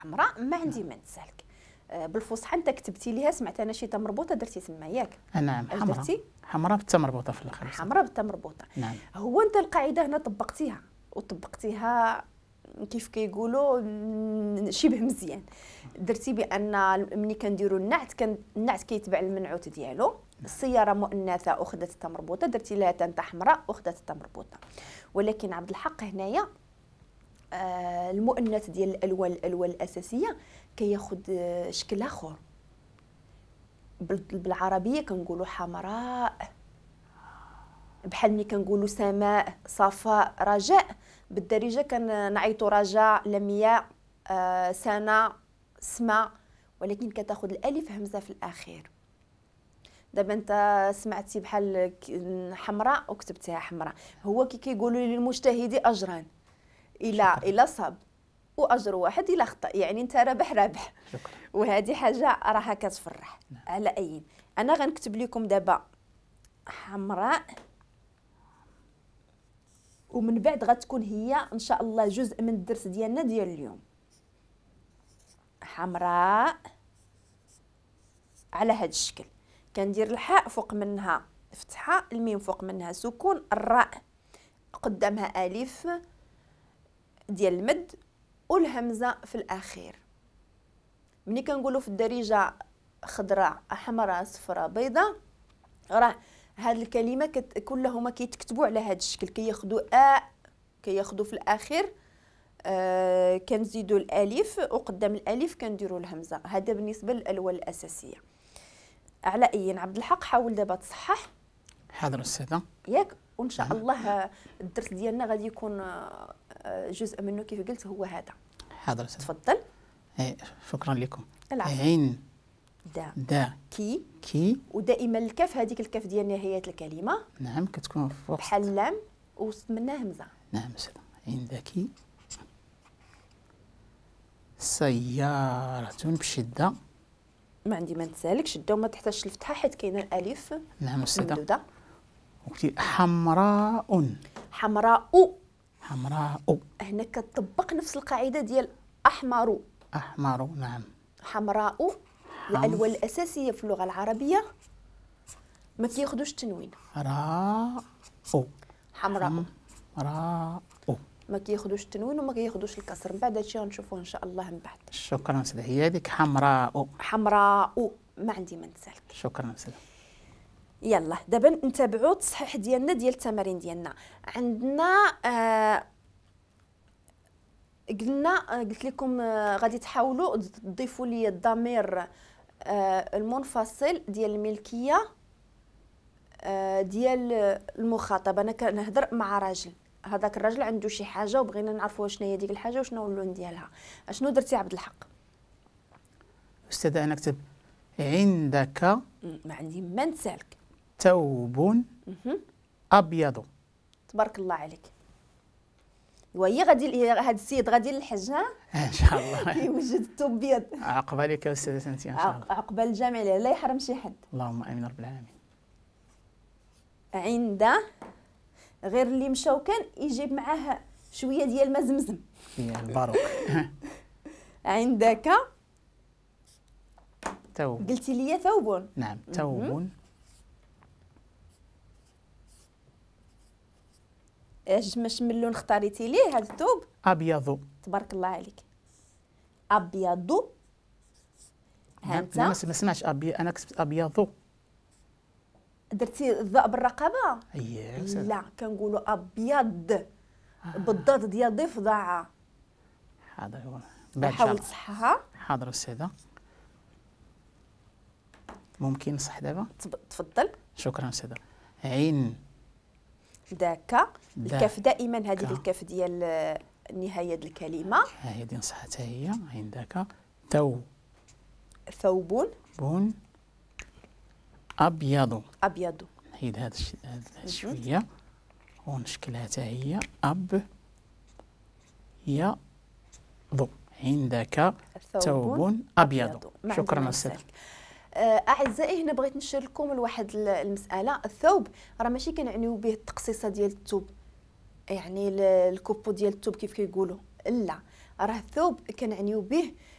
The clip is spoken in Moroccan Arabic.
حمراء ما عندي ما نسالك. بالفصحى انت كتبتي ليها، سمعت انا شي مربوطة درتي تما ياك؟ نعم، حمراء، حمراء بالتا مربوطة في الاخر، حمراء بالتا مربوطة. نعم. هو انت القاعدة هنا طبقتيها وطبقتيها كيف كيقولوا شبه مزيان. درتي بان ملي كنديروا النعت النعت كيتبع المنعوت ديالو. السيارة مؤنثة اخذت التا مربوطة، درتي لها تا انت حمراء اخذت التا مربوطة. ولكن عبد الحق هنايا المؤنث ديال الالوان الاساسية كياخذ شكل اخر. بالعربية كنقولوا حمراء، بحال ملي كنقولوا سماء، صفاء، رجاء. بالدارجة كنعيطوا رجاء، لمياء، سنة، سما، ولكن كتاخذ الالف همزه في الاخير. دابا انت سمعتي بحال حمراء وكتبتيها حمراء. هو كي كيقولوا للمجتهد اجران، الى صاب واجر واحد الى خطا، يعني انت رابح رابح. وهذه حاجة راها كتفرح. نعم. على اي انا غنكتب لكم دابا حمراء، ومن بعد غتكون هي ان شاء الله جزء من الدرس ديالنا ديال اليوم. حمراء على هذا الشكل، كندير الحاء فوق منها فتحه، الميم فوق منها سكون، الراء قدامها الف ديال المد والهمزة في الاخير. ملي كنقولوا في الدارجة خضراء، حمراء، صفراء، بيضاء، راه هاد الكلمة كلهما كيتكتبوا على هاد الشكل، كياخذوا كياخذوا في الاخير كنزيدوا الالف وقدام الالف كنديروا الهمزة. هذا بالنسبة للالوان الاساسية. على اي عبد الحق حاول دابا تصحح. حاضر استاذه، ياك؟ وان شاء الله الدرس ديالنا غادي يكون جزء منه كيف قلت هو هذا. حاضر استاذه، تفضل. شكرا لكم. عين دا دا كي كي، ودائما الكاف، هذيك الكاف ديال نهاية الكلمة. نعم، كتكون فوق بحال لام وسط منها همزه. نعم استاذه. عندك سيارة بشدة، ما عندي ما نتسالك، شدة وما تحتاجش الفتحة حيت كاينة الألف. نعم أستاذة. وقلتي حمراء، حمراء، حمراء. هنا كتطبق نفس القاعدة ديال أحمر، أحمر. نعم، حمراء. الألوان الأساسية في اللغة العربية ما كياخذوش التنوين. راء، حمراء، راء، ما كياخذوش التنوين وما كياخذوش الكسر. من بعد هادشي غنشوفوه ان شاء الله من بعد. شكرا سيدي. هي هذيك حمراء، حمراء، ما عندي ما نسالك. شكرا سيدي. يلا دابا نتابعوا التصحيح ديالنا ديال التمارين ديالنا. عندنا قلنا قلت لكم غادي تحاولوا تضيفوا لي الضمير المنفصل ديال الملكية ديال المخاطب. انا كنهضر مع راجل، هذاك الراجل عنده شي حاجة وبغينا نعرفوا شنو هي ديك الحاجة وشنو هو اللون ديالها. اشنو درتي عبد الحق؟ استاذه انا كتب عندك، ما عندي ما نسالك، ثوب ابيض. تبارك الله عليك. وهي غادي هذا السيد غادي للحج، ها ان شاء الله كيوجد الثوب ابيض. عقبال لك يا استاذه انت ان شاء الله، عقبال الجميع، لا يحرم شي حد. اللهم امين رب العالمين. عند غير اللي مشاو كان يجيب معاه شوية ديال ما زمزم، الباروك. عندك ثوب، قلتي لي ثوب. نعم، ثوب. اش ماش من لون اختاريتي ليه هذا الثوب؟ ابيض. تبارك الله عليك، ابيض. ها انت ما سمعتش ابيض، انا كتبت ابيض. درتي الضاء بالرقبه؟ اييه. لا، كنقولوا ابيض بالضاد ديال ضفدعه. حاضر، حاول تصحها. حاضر استاذه. ممكن نصح دابا؟ تفضل. شكرا استاذه. عين داك الكاف، دائما هذيك الكاف ديال نهاية الكلمة. ها هي دي نصحتها هي. عندك ثوب، ثوب بون أبيض، أبيض. نحيد هذا شوية ونشكلها حتى هي أب يا ض. عندك ثوب أبيض. شكرا أستاذ. أعزائي هنا بغيت نشير لكم لواحد المسألة. الثوب راه ماشي كنعنيو به التقصيصة ديال الثوب، يعني الكوبو ديال الثوب كيف كيقولوا، لا، راه الثوب كنعنيو به.